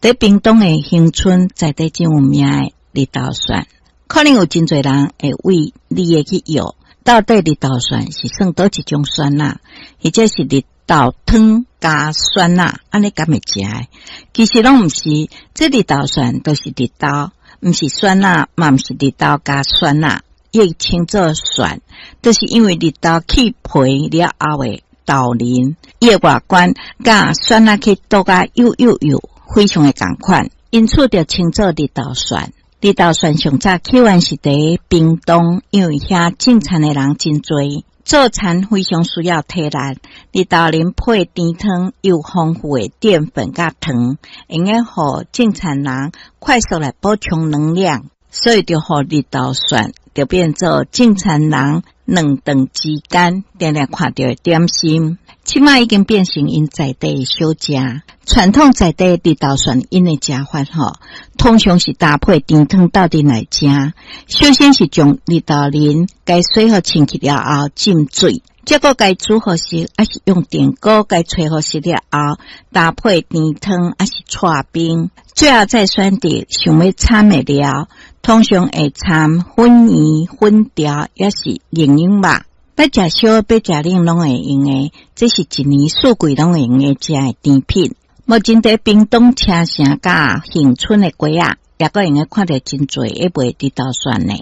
佇屏東的恆春在地真有名的綠豆蒜，可能有真濟人會為你會去藥，到底綠豆蒜是算佗一種蒜仔，或者是綠豆湯加蒜仔，按呢敢會食的？其實攏毋是，這綠豆蒜就是綠豆，毋是蒜仔，嘛毋是綠豆加蒜仔，伊稱做蒜，就是因為綠豆去皮了後的豆仁，伊的外觀佮蒜仔去剁甲幼幼幼，非常的仝款，因此就稱做綠豆蒜。綠豆蒜上早起源是佇屏東，因為遐種田的人真濟，做田非常需要體力。綠豆仁配甜湯，有豐富的澱粉佮糖，會用予種田人快速來補充能量，所以就予綠豆蒜就變做種田人兩頓之間定定看著的點心。這馬已經變成𪜶在地的小食。傳統在地綠豆蒜𪜶的食法吼，通常是搭配甜湯鬥陣來食。首先是將綠豆仁共洗予清氣了後浸水，再閣共煮予熟，抑是用電鍋共炊予熟了後，搭配甜湯，抑是剉冰。最後再選擇想欲摻的料，通常會摻粉圓、粉條，抑是營養肉。欲食燒，欲食冷攏會用的，這是一年四季攏會用的食的甜品。目前佇屏東車城佮恆春的街仔，也閣會用得看著真濟咧賣綠豆蒜的。